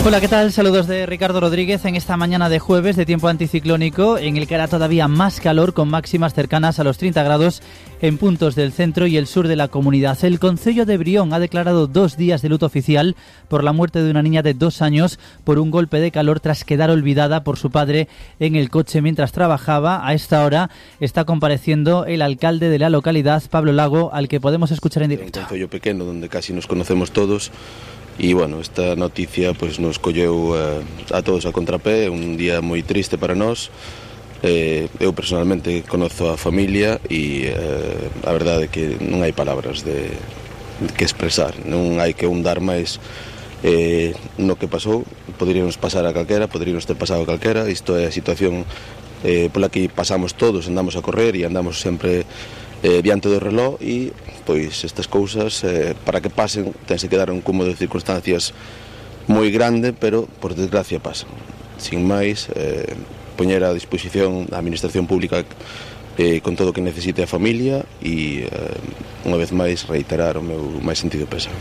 Hola, ¿qué tal? Saludos de Ricardo Rodríguez en esta mañana de jueves de tiempo anticiclónico en el que hará todavía más calor con máximas cercanas a los 30 grados en puntos del centro y el sur de la comunidad. El Concello de Brión ha declarado 2 días de luto oficial por la muerte de una niña de 2 años por un golpe de calor tras quedar olvidada por su padre en el coche mientras trabajaba. A esta hora está compareciendo el alcalde de la localidad, Pablo Lago, al que podemos escuchar en directo. Un concello pequeno donde casi nos conocemos todos. E, bueno, esta noticia pues, nos colleu a todos a contrapé, un día moi triste para nós. Eu personalmente conozo a familia e a verdade é que non hai palabras que expresar, non hai que hundar máis no que pasou. Poderíamos pasar a calquera, poderíamos ter pasado a calquera. Isto é a situación pola que pasamos todos, andamos a correr e andamos sempre diante do reloj e pois estas cousas para que pasen tense que dar un cúmulo de circunstancias moi grande, pero por desgracia pasan. Sin máis, poñer a disposición da administración pública con todo o que necesite a familia e unha vez máis reiterar o meu máis sentido pésame.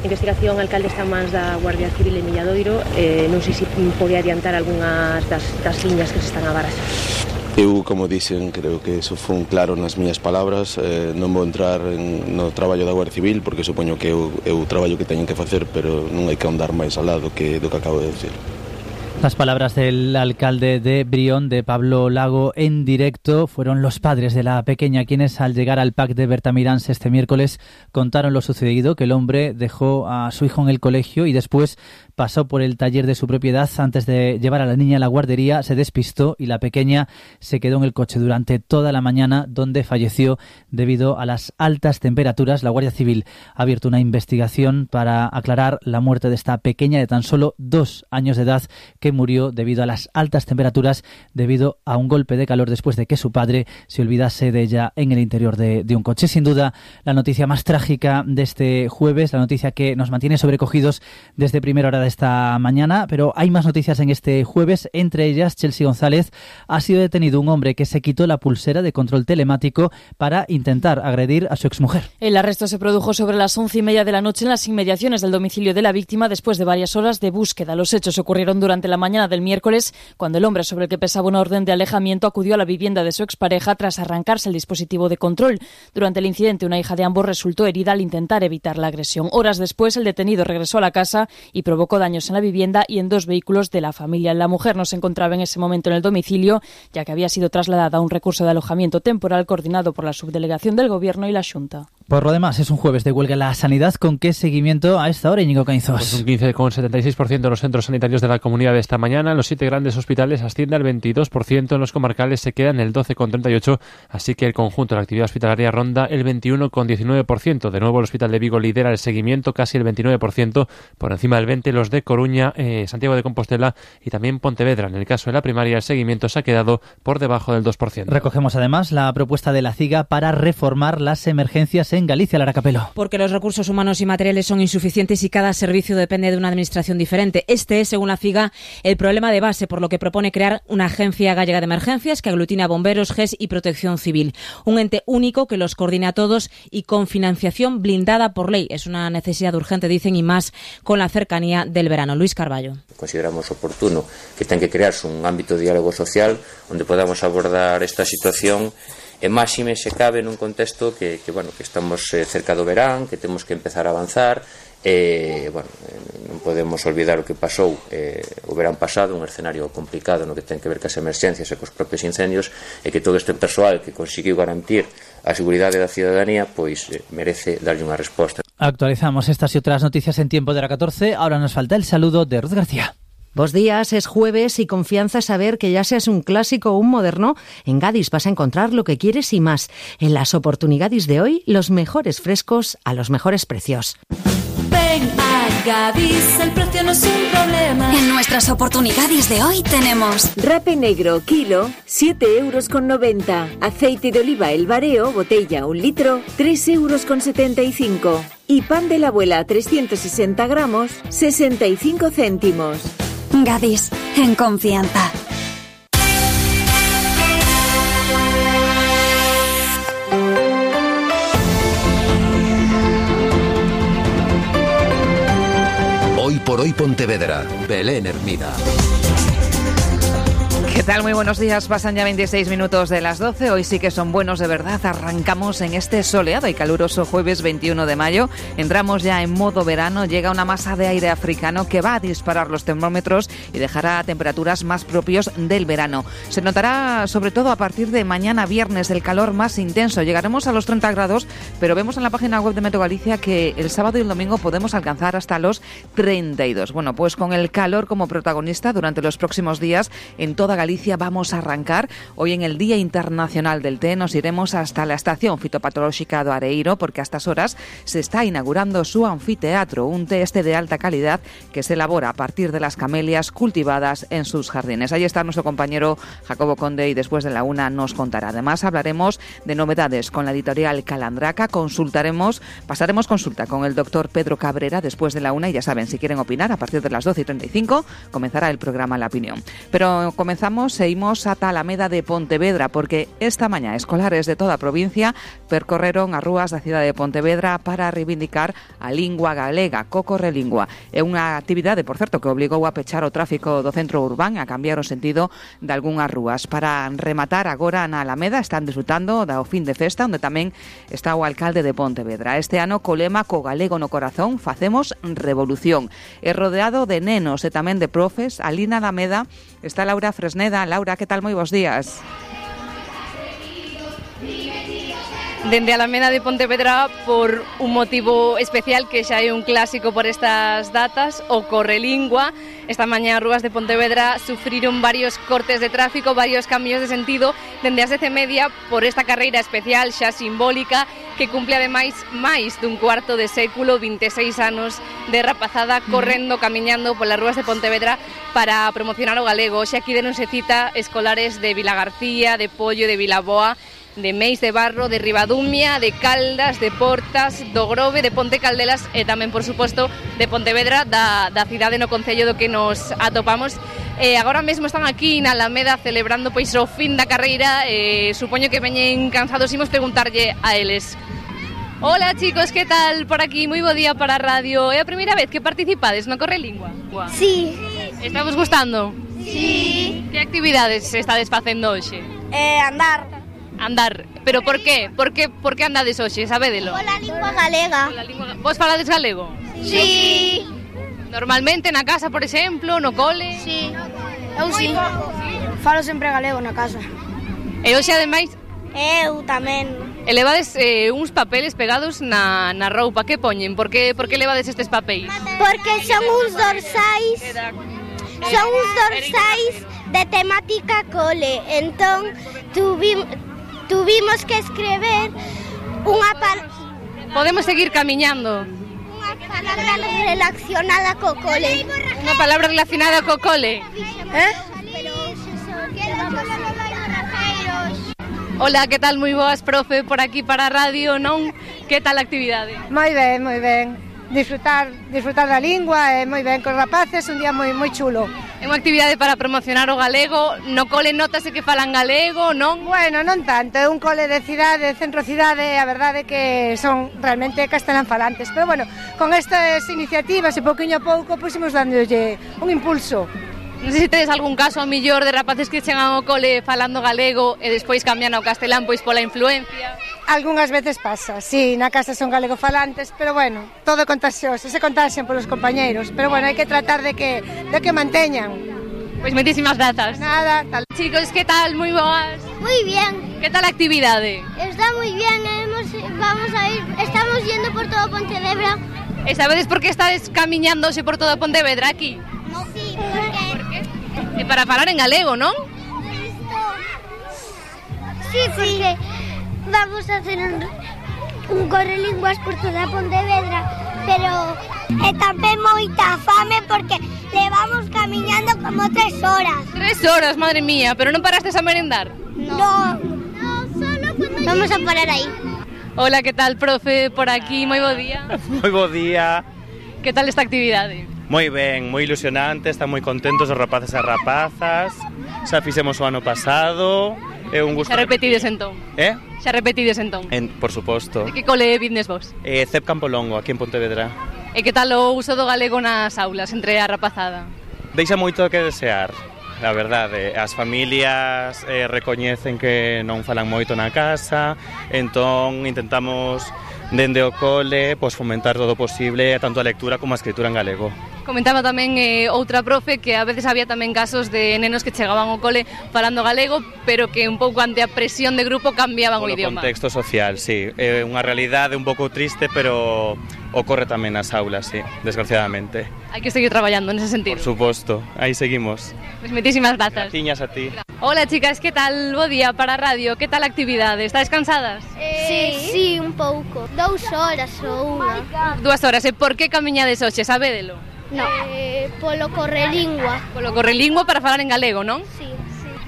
Investigación, alcalde, está en mans da Guardia Civil en Milladoiro. Non sei se pode adiantar algunhas das liñas que se están a baraxar. Eu, como dixen, creo que eso foi claro nas miñas palabras. Non vou entrar no traballo da Guardia Civil porque supoño que é o traballo que teñen que facer, pero non hai que andar máis al lado do que acabo de decir. Las palabras del alcalde de Brión, de Pablo Lago, en directo. Fueron los padres de la pequeña quienes, al llegar al PAC de Bertamiráns este miércoles, contaron lo sucedido, que el hombre dejó a su hijo en el colegio y después pasó por el taller de su propiedad. Antes de llevar a la niña a la guardería, se despistó y la pequeña se quedó en el coche durante toda la mañana, donde falleció debido a las altas temperaturas. La Guardia Civil ha abierto una investigación para aclarar la muerte de esta pequeña de tan solo 2 años de edad, que murió debido a las altas temperaturas, debido a un golpe de calor después de que su padre se olvidase de ella en el interior de un coche. Sin duda, la noticia más trágica de este jueves, la noticia que nos mantiene sobrecogidos desde primera hora de esta mañana, pero hay más noticias en este jueves. Entre ellas, Chelsea González, ha sido detenido un hombre que se quitó la pulsera de control telemático para intentar agredir a su exmujer. El arresto se produjo sobre las 11:30 de la noche en las inmediaciones del domicilio de la víctima después de varias horas de búsqueda. Los hechos ocurrieron durante la mañana del miércoles, cuando el hombre sobre el que pesaba una orden de alejamiento acudió a la vivienda de su expareja tras arrancarse el dispositivo de control. Durante el incidente, una hija de ambos resultó herida al intentar evitar la agresión. Horas después, el detenido regresó a la casa y provocó daños en la vivienda y en 2 vehículos de la familia. La mujer no se encontraba en ese momento en el domicilio, ya que había sido trasladada a un recurso de alojamiento temporal coordinado por la Subdelegación del Gobierno y la Xunta. Por lo demás, es un jueves de huelga en la sanidad. ¿Con qué seguimiento a esta hora, Íñigo Cainzos? Pues un 15,76% de los centros sanitarios de la comunidad de esta mañana. En los 7 grandes hospitales asciende al 22%, en los comarcales se queda en el 12,38%, así que el conjunto de la actividad hospitalaria ronda el 21,19%. De nuevo, el Hospital de Vigo lidera el seguimiento, casi el 29%, por encima del 20%, los de Coruña, Santiago de Compostela y también Pontevedra. En el caso de la primaria, el seguimiento se ha quedado por debajo del 2%. Recogemos además la propuesta de la CIGA para reformar las emergencias en Galicia, Lara Capelo. Porque los recursos humanos y materiales son insuficientes y cada servicio depende de una administración diferente. Este es, según la CIGA, el problema de base, por lo que propone crear una agencia gallega de emergencias que aglutina a bomberos, GES y Protección Civil. Un ente único que los coordine a todos y con financiación blindada por ley. Es una necesidad urgente, dicen, y más con la cercanía del verano. Luis Carballo. Consideramos oportuno que ten que crearse un ámbito de diálogo social onde podamos abordar esta situación e máxime se cabe nun contexto que estamos cerca do verán, que temos que empezar a avanzar. Non podemos olvidar o que pasou o verán pasado, un escenario complicado no que ten que ver cas emerxencias e cos propios incendios, e que todo este persoal que conseguiu garantir a seguridade da cidadanía pois merece darlle unha resposta. Actualizamos estas y otras noticias en tiempo de la 14. Ahora nos falta el saludo de Ruth García. Bos días, es jueves y confianza saber que ya seas un clásico o un moderno, en Gadis vas a encontrar lo que quieres y más. En las oportunidades de hoy, los mejores frescos a los mejores precios. Ven a Gadis, el precio no es un problema. En nuestras oportunidades de hoy tenemos rape negro, kilo, 7,90 €. Aceite de oliva El Bareo, botella 1 litro, 3,75 €. Y pan de la abuela, 360 gramos, 65 céntimos. Gadis, en confianza. Hoy por Hoy Pontevedra. Belén Hermida. ¿Qué tal? Muy buenos días. Pasan ya 26 minutos de las 12. Hoy sí que son buenos de verdad. Arrancamos en este soleado y caluroso jueves 21 de mayo. Entramos ya en modo verano. Llega una masa de aire africano que va a disparar los termómetros y dejará temperaturas más propios del verano. Se notará sobre todo a partir de mañana viernes el calor más intenso. Llegaremos a los 30 grados, pero vemos en la página web de Meteo Galicia que el sábado y el domingo podemos alcanzar hasta los 32. Bueno, pues con el calor como protagonista durante los próximos días en toda Galicia vamos a arrancar. Hoy en el Día Internacional del Té nos iremos hasta la Estación Fitopatolóxica do Areiro porque a estas horas se está inaugurando su anfiteatro, un té de alta calidad que se elabora a partir de las camelias cultivadas en sus jardines. Ahí está nuestro compañero Jacobo Conde y después de la una nos contará. Además hablaremos de novedades con la editorial Calandraca, pasaremos consulta con el doctor Pedro Cabrera después de la una y ya saben, si quieren opinar a partir de las 12:35 comenzará el programa La Opinión. Pero seguimos ata Alameda de Pontevedra porque esta mañá escolares de toda a provincia percorreron as rúas da cidade de Pontevedra para reivindicar a lingua galega, Cocorrelingua. É unha actividade, por certo, que obligou a pechar o tráfico do centro urbán, a cambiar o sentido de algunhas rúas. Para rematar agora na Alameda están disfrutando do fin de festa, onde tamén está o alcalde de Pontevedra. Este ano co lema Co galego no corazón facemos revolución. É rodeado de nenos e tamén de profes. Ali na Alameda está Laura Fresneda. Laura, ¿qué tal? Moi bons días. Dende Alameda de Pontevedra por un motivo especial que xa é un clásico por estas datas, o Correlingua. Esta mañá as rúas de Pontevedra sufriron varios cortes de tráfico, varios cambios de sentido dende as 10:30 por esta carreira especial xa simbólica que cumple ademais máis dun cuarto de século, 26 anos de rapazada correndo, camiñando polas rúas de Pontevedra para promocionar o galego. Xa aquí deronse cita escolares de Vilagarcía, de Pollo, de Vilaboa, de Meis de Barro, de Ribadumia, de Caldas, de Portas, do Grove, de Ponte Caldelas e tamén, por suposto, de Pontevedra, da cidade no concello do que nos atopamos. Agora mesmo están aquí na Alameda celebrando pois o fin da carreira. Supoño que veñen cansados. Imos preguntarlle a eles. Hola chicos, que tal por aquí? Moi bo día para a radio. É a primeira vez que participades no Correlingua? Sí. Está vos gustando? Sí. Que actividades estades facendo hoxe? Andar, pero por qué? Por que andades hoxe, sabédelo? Pola lingua galega. Vos falades galego? Sí. Normalmente na casa, por exemplo, no cole? Sí. Eu sí. Falo sempre galego na casa. E hoxe ademais? Eu tamén. E levades uns papeles pegados na roupa, que poñen? Por que levades estes papéis? Porque son uns dorsais. Son uns dorsais de temática cole. Entón, tuvimos que escrever unha Podemos seguir camiñando. Unha palabra relacionada co cole. Unha palabra relacionada co cole. Hola, que tal? Moi boas, profe, por aquí para a radio, non? Que tal a actividade? Moi ben, moi ben. Disfrutar da lingua, moi ben, cos rapaces, un día moi chulo. É unha actividade para promocionar o galego. No cole notase que falan galego, non? Bueno, non tanto, é un cole de cidade, centro cidade, a verdade é que son realmente castelán falantes. Pero bueno, con estas iniciativas e pouquiño a pouco, pois imos dándolle un impulso. Non sei se tedes algún caso a millor de rapaces que chegan ao cole falando galego e despois cambian ao castelán pois pola influencia. Algúnas veces pasa, sí, na casa son galego falantes, pero bueno, todo é contagioso, se contaxian polos compañeiros, pero bueno, hai que tratar de que manteñan. Pois moitísimas grazas. Nada, tal. Chicos, que tal? Moi boas. Moi bien. Que tal a actividade? Está moi bien, estamos yendo por todo Pontevedra. E sabedes por que estades camiñándose por todo Pontevedra aquí? No, sí, porque... É para falar en galego, non? Sí, porque vamos a hacer un Correlinguas por toda Pontevedra, pero tamén moita fame porque levamos camiñando como 3 horas. 3 horas, madre mía, pero non parastes a merendar? No, solo cuando... Vamos a parar aí. Hola, que tal, profe, por aquí, moi bo día. Moi bo día. Que tal esta actividade? Moi ben, moi ilusionante, están moi contentos os rapaces e rapazas. Xa fixemos o ano pasado. É un gusto. Xa repetides entón. Xa repetides entón. Por suposto. De que cole vindes vos? CEP Campolongo, aquí en Pontevedra. E que tal o uso do galego nas aulas entre a rapazada? Deixa moito que desear, a verdade. As familias recoñecen que non falan moito na casa, entón intentamos dende o cole fomentar todo o posible, tanto a lectura como a escritura en galego. Comentaba tamén outra profe que a veces había tamén casos de nenos que chegaban ao cole falando galego, pero que un pouco ante a presión de grupo cambiaban o idioma. O contexto social, sí. É unha realidade un pouco triste, pero ocorre tamén nas aulas, sí, desgraciadamente. Hai que seguir traballando nese sentido. Por suposto, aí seguimos. Pois moitísimas grazas. Graciñas a ti. Hola chicas, que tal? Bo día para a radio, que tal a actividade? Estáis cansadas? Sí, un pouco. 2 horas ou unha. 2 horas, e por que camiñades hoxe, sabédelo? No. Polo correlingua. Polo correlingua para falar en galego, non? Sí.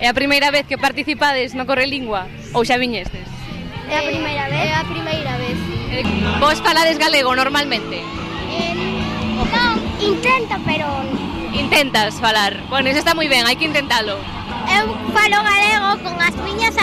É a primeira vez que participades no correlingua ou xa viñestes? É a primeira vez. É a primeira vez. Vos falades galego normalmente? Non, intento, pero... Intentas falar. Bueno, eso está moi ben, hai que intentalo. Eu falo galego con as miñas